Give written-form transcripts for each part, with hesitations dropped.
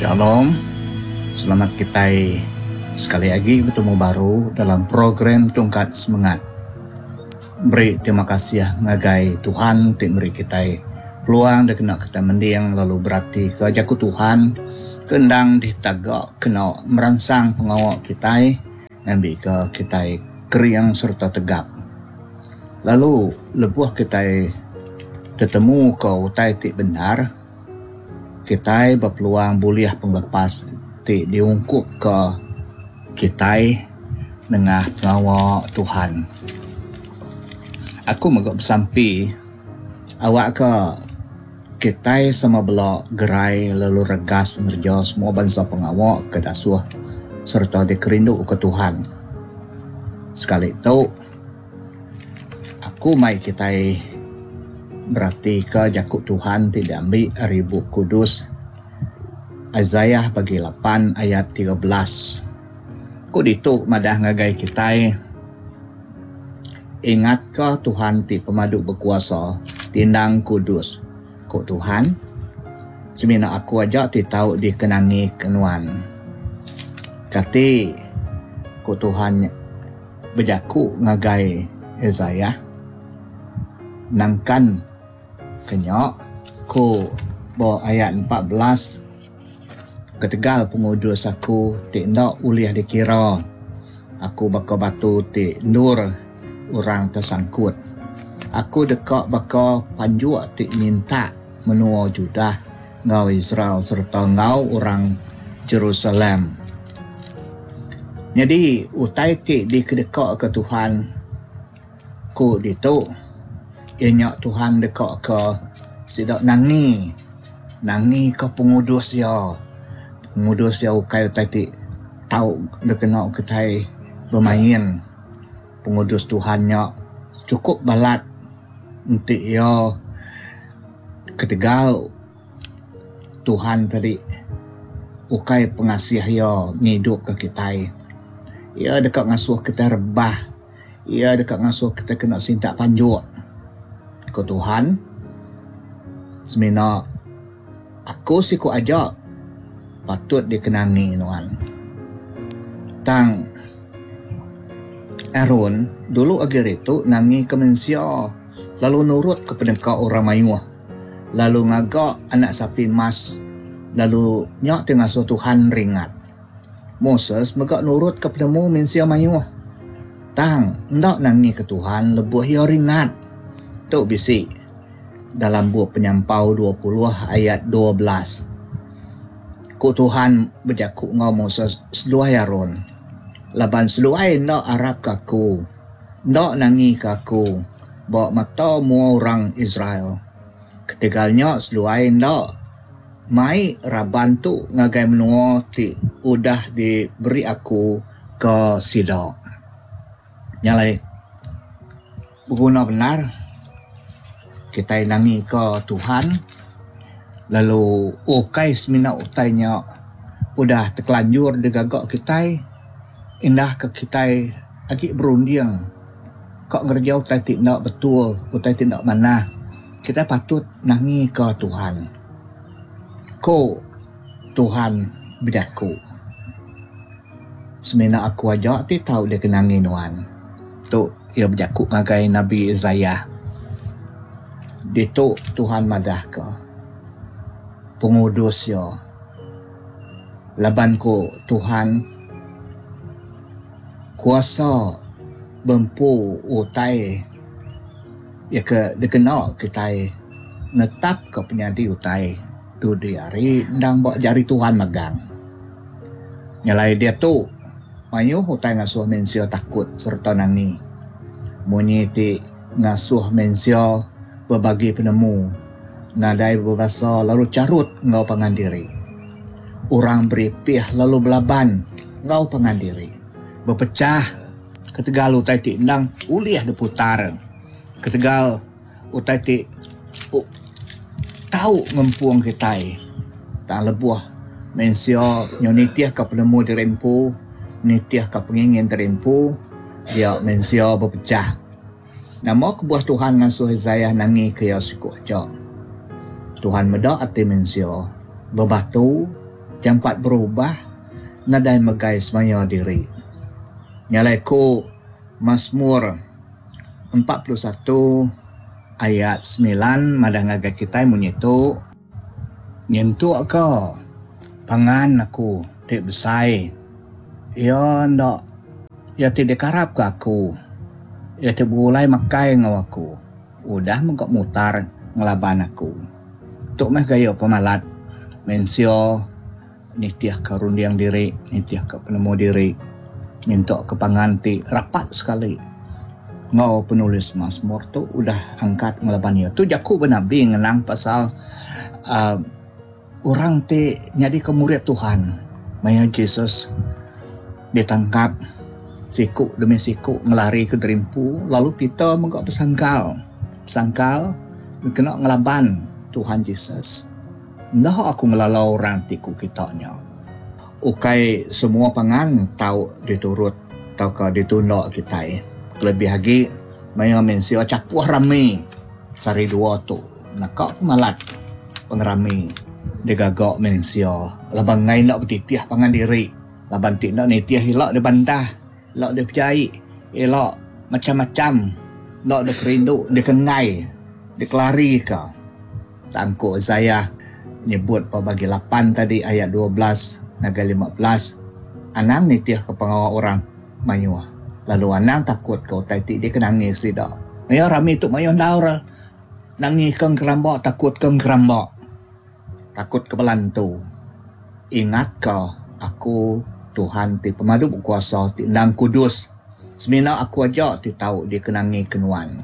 Shalom. Selamat kitai sekali agi betemu baru dalam program Tungkat Semengat. Meri terima kasih ngagai Tuhan ti meri kitai peluang dikena kitai mending lalu beratika jaku Tuhan ke endang ditaga kena meransang pengawa kitai ngambika kitai kering sereta tegap. Lalu lebuh kitai tetemuka utai ti bendar, kitai bepeluang bulih pengelepas ti diungkupka kitai nengah pengawa Tuhan. Aku mega besampi awakka kitai sama bela gerai lalu regas ngereja semua bansa pengawa ke dasuh sereta dikerinduka Tuhan. Sekali tu, Aku mai kitai beratika jaku Tuhan ti diambi ari Bup Kudus Isaiah bagi lapan ayat 13. Ku ditu madah ngagai kitai, Ingatka Tuhan ti Pemadu Bekuasa ti endang kudus, ku Tuhan, Semina Aku aja ti tau dikenangika nuan. Kati ku Tuhan bejaku ngagai Isaiah, Nangkan ke nya, ku ba ayat 14, Ketegal pengudus Aku ti enda ulih dikira, Aku baka batu ti endur orang tesangkut. Aku deka baka panjuk ti nyintak menua Judah enggau Israel sereta enggau orang Jerusalem. Nyadi utai ti dikedekaka Tuhan ku ditu iya nya Tuhan dekaka sida nangi, nangika pengudus Iya. Pengudus Iya ukai utai ti tau dikena kitai bemain. Pengudus Tuhan nya chukup balat enti iya ketegal Tuhan tadi ukai pengasih iya ngidupka kitai. Iya deka ngasuh kitai rebah. Iya deka ngasuh kitai kena sintak panjuk. Ku Tuhan, Semina aku siku aja patut dikenangi nuan. Tang Aaron dulu agi ritu nangika mensia lalu nurutka peneka orang mayuh lalu ngaga anak sapi emas lalu nya ti ngasuh Tuhan ringat. Moses mega nurutka penemu mensia mayuh tang enda nangika Tuhan lebuh iya ringat. Tu bisi dalam bup Penyampau 20 ayat 12. Ku Tuhan bejaku enggau Moses seduai Aron, Laban seduai enda arapka Aku, enda nangika Aku ba mata mua orang Israel. Ketegal nya seduai enda mai raban tu ngagai menua ti udah diberi Aku ke sida. Nya alai beguna bendar kitai nangika Tuhan lalu ukai semina utai nya udah tekelanjur digaga kitai indah ke kitai agi berunding ka ngereja utai ti enda betul utai ti enda manah kitai patut nangika Tuhan. Ku Tuhan bejaku. Semina aku aja ti tau dikenangi nuan. Tu iya bejaku ngagai Nabi Isaiah. Ditu Tuhan madahka pengudus iya. Laban ku Tuhan kuasa bempu utai iya ke dikena kitai netapka penyadi utai dudi hari endang ba jari Tuhan megang. Nyelai diatu, mayuh utai ngasuh mensia takut sereta nangi. Munyi ti ngasuh mensia bebagi penemu, nadai bebasa lalu charut enggau pangan diri. Orang beripih lalu belaban enggau pangan diri, bepechah ketegal utai ti endang ulih diputar ketegal utai ti tau ngempung kitai tang lebuh mensia nyau nitihka penemu diri empu nitihka pengingin diri empu dia mensia bepechah. Nama kebuah Tuhan ngasuh Isaiah nangika iya siku aja? Tuhan meda ati mensia bebatu. Jampat berubah nadai megai semaya diri. Nya alai ku Masmur 41 ayat semilan madah ngagai kitai munyi tu, Nyentuk ka pangan aku ti besai iya enda iya ti dikarap ka aku iya ti begulai makai enggau aku udah mega mutar ngelaban aku. Tu meh gaya pemalat mensia nitih ka runding diri nitih ka penemu diri nyentuk ka pangan ti rapat sekali enggau penulis Masmur tu udah angkat ngelaban iya. Tu jaku benabi ngenang pasal uhh orang ti nyadika murid Tuhan maya Jesus ditangkap siku demi siku ngelarika derimpu lalu Peter mega besangkal besangkal kena ngelaban Tuhan Jesus. Enda aku ngelala orang ti ku kita nya. Ukai semua pangan tau diturut tauka ditunda kitai kelebih agi maya mensia chapuh rami sehari dua tu naka pemalat pengerami digaga mensia laban enggai enda betitih pangan diri laban ti enda nitih ila dibantah ila dipejai ila macam-macam enda dikerindu dikenggai dikelarika. Tang ku Isaiah nyebut ba bagi lapan tadi ayat 12 ngagai 15, Anang nitihka pengawa orang mayuh, lalu anang takutka utai ti dikenangi sida. Maya rami tu mayuh endaur nangika engkeramba takutka engkeramba, takutka bala entu. Ingatka, Aku, Tuhan ti Pemadu Bekuasa ti endang kudus, semina Aku aja ti tau dikenangika nuan.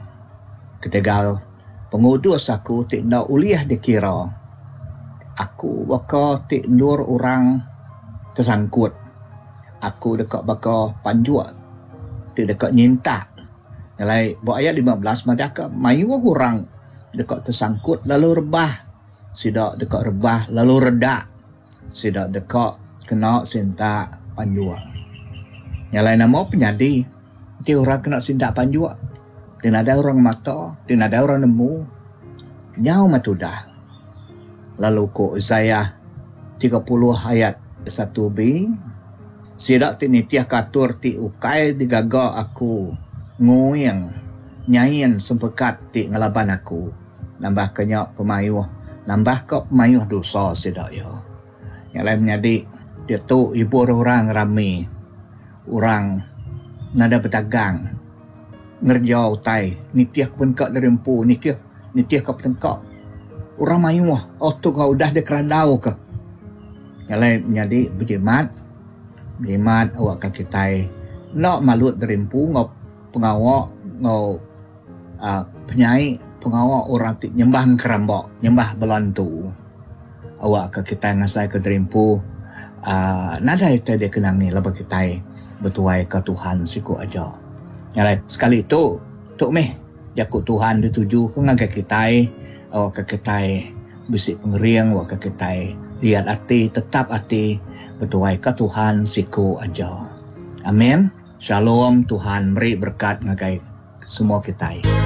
Ketegal. Pengudus aku ti enda ulih dikira. Aku baka ti endur orang tesangkut. Aku deka baka panjuk ti deka nyintak. Alai ba ayat 15 madahka mayuh orang deka tesangkut lalu rebah. Sida deka rebah lalu redak. Sida deka kena sintak panjuk. Nya alai nama penyadi enti orang kena sintak panjuk ti nadai orang mata, ti nadai orang nemu nyau meh tudah. Lalu ku Isaiah 30 ayat 1b, Sida ti nitihka atur ti ukai digaga aku nguing nyain sempekat ti ngelaban aku. Nambahka nya pemayuh nambahka pemayuh dosa sida iya. Nya alai menyadi diatu ibur orang rami orang nadai betagang ngereja utai nitih peneka diri empu nitih nitihka peneka orang mayuh oh tu ka udah dikerandauka. Nya alai menyadi bejimat bejimat awakka kitai enda malut diri empu enggau pengawa enggau. uhh penyai pengawa orang ti nyembah engkeramba nyembah bala entu awakka kitai ngasaika diri empu uhh nadai utai dikenangi laban kitai betuaika Tuhan siku aja. Nya alai sekali tu, tu mih jaku Tuhan ditujuka ngagai kitai awakka kitai bisi pengering awakka kitai liat ati tetap ati betuaika Tuhan siku aja. Amin. Shalom Tuhan meri berekat ngagai. Semua kitai.